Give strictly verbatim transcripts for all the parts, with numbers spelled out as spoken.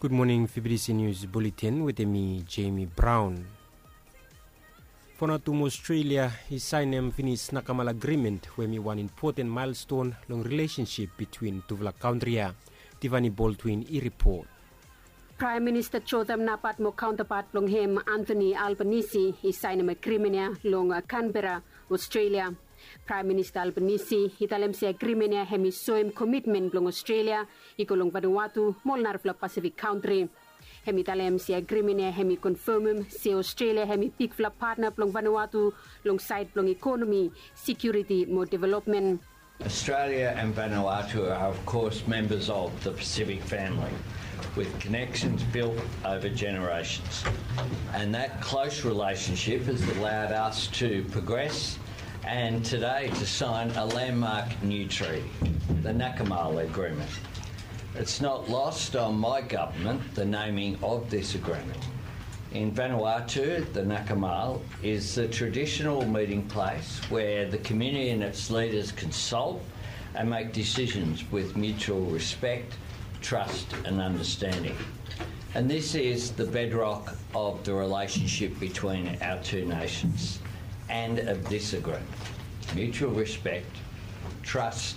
Gud moning, Fibidisi Nius Buletin wetem mi, Jemi Braon. Vanuatu mo Australia i saenem finis Nakamal Agrimen, we hem i wan impoten maelston long rilesensip bitwin tufala kantri ya. Tivani Baldwin i ripot. Praem Minista Jotham Napat mo kaontapat blong hem, Anthony Albanese, i saenem agrimen ya long Canberra, Australia. Praem Minista Albanese i talem se agrimen ya hem i soem komitmen blong Australia i go long Vanuatu mo ol narafala Pasifik kantri. Hem i talem se agrimen ya hem i konfamem se Australia hem i bigfala patna blong Vanuatu long saed blong ekonomi, sekiuriti mo developmen. Australia and Vanuatu are, of course, members of the Pacific family, with connections built over generations. And that close relationship has allowed us to progress and today to sign a landmark new treaty, the Nakamal Agreement. It's not lost on my government the naming of this agreement. In Vanuatu, the Nakamal is the traditional meeting place where the community and its leaders consult and make decisions with mutual respect, trust and understanding. And this is the bedrock of the relationship between our two nations and of this agreement. Mutual respect, trust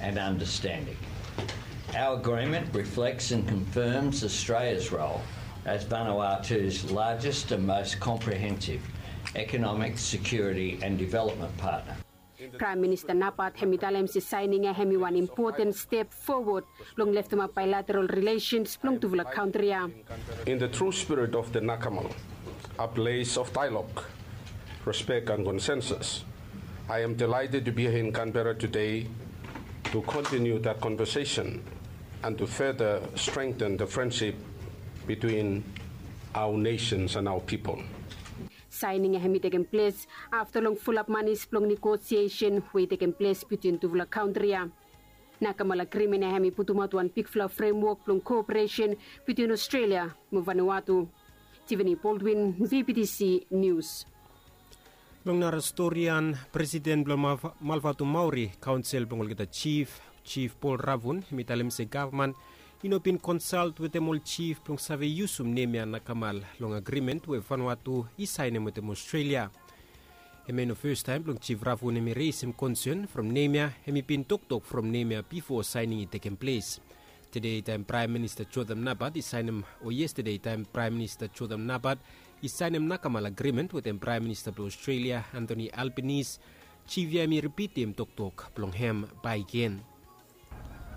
and understanding. Our agreement reflects and confirms Australia's role as Vanuatu's largest and most comprehensive economic, security and development partner. Praem Minista Napat hem i talem se saening ya hem i wan impoten step fowod long leftemap baelateral rilesens blong tufala kantri ya. In the true spirit of the Nakamal, a place of dialogue, respect and consensus, I am delighted to be here in Canberra today to continue that conversation and to further strengthen the friendship between our nations and our people. Saening ya hem i tekem ples afta long fulap manis blong negosiesen we i tekem ples bitwin tufala kantri ya. Nakamal Agrimen ya hem i putumaot wan bigfala fremwok blong koperesen bitwin Australia mo Vanuatu. Tivani Baldwin, V B T C Nius. Long nara storian, Presiden blong Malvatu Maori Kaonsel blong olgeta Jif, Jif Paul Ravun, hem i talem se gavman i no bin konsalt wetem ol jif blong save yusum nem ya Nakamal long agrimen we Vanuatu i saenem wetem Australia. Hem ya i no fastaem blong Jif Ravun hem i resem konsen from nem ya, hem i bin toktok from nem ya bifo saening i tekem ples. Tede taem Praem Minista Jotham Napat i saenem, o yestede taem Praem Minista Jotham Napat i saenem Nakamal Agrimen wetem Praem Minista blong Australia, Anthony Albanese, Jif ya hem i ripitim toktok blong hem bakegen.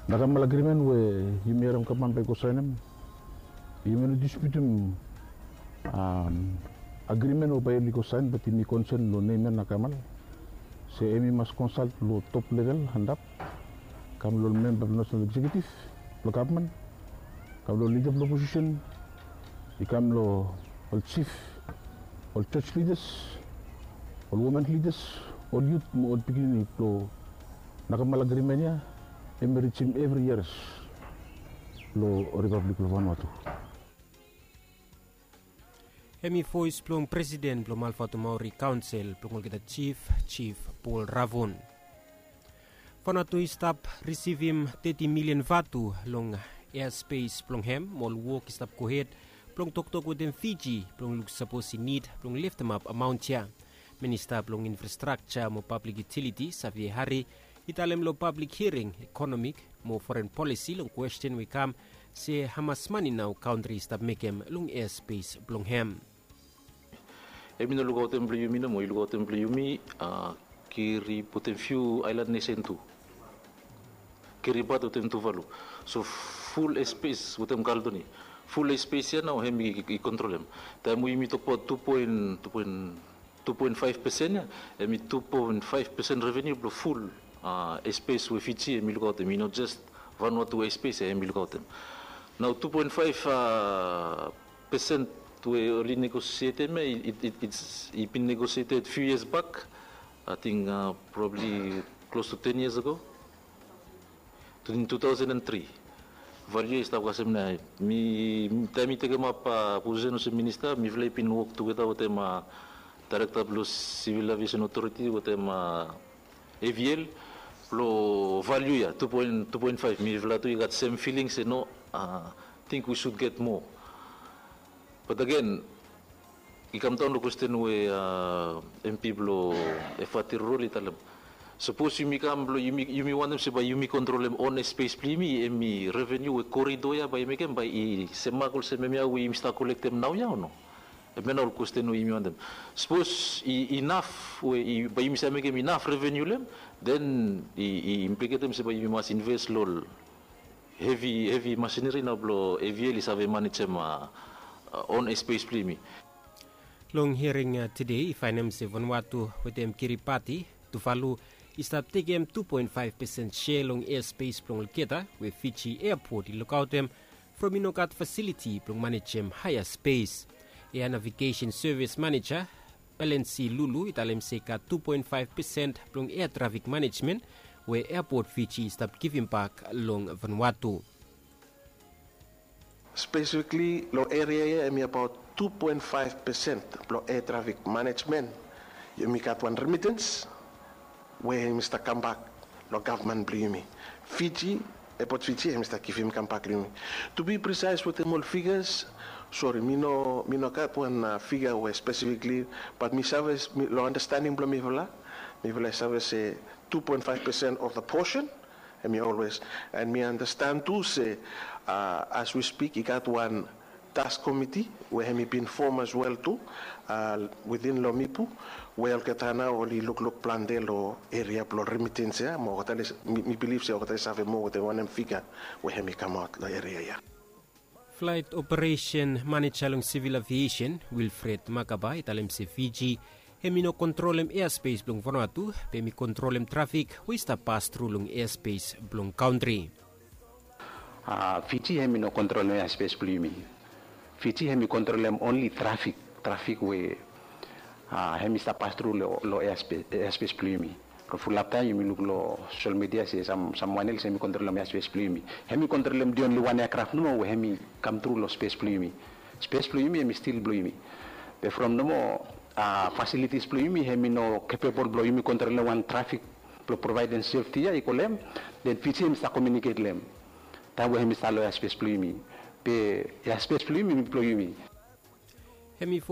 Nakamal Agrimen we yumi harem gavman bae i go saenem, yumi no disputim agrimen we bae oli go saen, bat yumi konsen long nem ya Nakamal se hem i mas konsalt long top level antap, kam long ol memba blong Nasenal Eksekiutiv blong gavman, kam long lida blong oposisen, i kam long ol jif, ol jos lidas, ol women lidas, ol yut mo ol pikinini blong Nakamal Agrimen ya hem i rijim evri yias long Ripablik blong Vanuatu. Hem i voes blong Presiden blong Malvatu Maori Kaonsel blong olgeta Jif, Jif Paul Ravun. Vanuatu i stap risivim teti milian vatu long easpes blong hem, mo ol wok i stap gohed blong toktok wetem Fiji blong luk sapos i nid blong leftemap amaon ya. Minista blong Infrastrakja mo Pablik Yutiliti, Xavier Harry, i talem long pablik hiaring ekonomik mo foren polisi long kwesten we i kam se hamas mane nao kantri i stap mekem long easpes blong hem. Hem i no lukaotem blong yumi nomo, i lukaotem blong yumi, kiri putum fiu aelan nesen tu. Kiri bat wetem Tuvalu. So ful easpes wetem Kaledonia, ful easpes ya nao hem i kontrolem. Taem we yumi tokbaot tu poen, tu poen tu poen faef pesen ya, hem i tu poen faef pesen revenu blong ful easpes we Fiji hem i lukaotem. I no jes Vanuatu easpes ya hem i lukaotem. Nao tu poen faef pesen we oli negosietem ya, i bin negosieted fiu yias bak, ating probabli klos tu ten yias ago. In two thousand and three. Valiu ya i stap kasem nao. Mi, taem mi tekemap posisen olsem minista, mifala i bin wok tugeta wetem daerekta blong Sivil Aviesen Otoriti wetem A V L blong valiu ya tu poen, tu poen faef. Mifala tu i gat sem filing se no, a, think we should get more. But again, i kam daon long kwesten we MP blong Efate Rurol i talem, sapos yumi kam blong yumi wantem se bae yumi kontrolem on airspace blong yumi, hemi revenue we corridor ya bae i mekem bae i semak olsem hemia we yumi stap kolektem naoia o no? Hemia nao ol kwesten we yumi wantem. Sapos i inaf we bae yumi save mekem inaf revenue long hem, then i impliketem se bae yumi mas inves long ol hevi hevi masineri nao blong AVL i save manejem on airspace blong yumi. Long hiaring tede i faenem se Vanuatu wetem Kiribati, Tuvalu, i stap tekem tu poen faef pesen sea long airspace blong olgeta we Fiji Airport i lukaotem from i no gat fasiliti blong manejem haea spes. Air Navigation Service Manager Balensi Lulu i talem se i gat tu poen faef pesen blong air trafik manejmen we Airport Fiji i stap givimbak long Vanuatu. Spesifikli long eria ya hemi abaot tu poen faef pesen blong air trafik manejmen. Yumi gat wan remittance we hemi stap kambak long gavman blong yumi. Fiji, Airport Fiji hemi stap givim kambak long yumi. To be precise wetem ol figures, sori, mi no mi no gat wan figa we spesifikli, bat mi save long andastaning blong mifala, mifala i save se tu poen faef pesen of the portion. Hemi always, and mi andastan tu se as we speak i gat wan task committee we hemi bin fom as well tu within long Mipu, we olgeta nao oli lukluk plante long eria blong remittance ya, mo olgeta mi bilif se olgeta i save moa wetem wanem figa we hemi kamaot long eria ya. Flight Operation Manager long Civil Aviation Wilfred Makaba i talem se Fiji hemi no kontrolem airspace blong Vanuatu, be hemi kontrolem trafik we i stap pas tru long airspace blong kantri. Fiji hemi no kontrolem airspace blong yumi. Fiji hemi kontrolem onli trafik, trafik we hemi stap pas tru long airspace blong yumi. Long fulap taem yumi luk long social media se samwan els hemi kontrolem airspace blong yumi. Hemi kontrolem the only wan aircraft nomo we hemi kam tru long space blong yumi. Space blong yumi hemi stil blong yumi. Be from nomo facilities blong yumi hemi no capable blong yumi kontrolem wan trafik blong provaedem safety ya i go long hem, then Fiji hemi stap communicate long hem taem we hemi stap long airspace blong yumi. Be airspace blong yumi hemi blong yumi. Hemi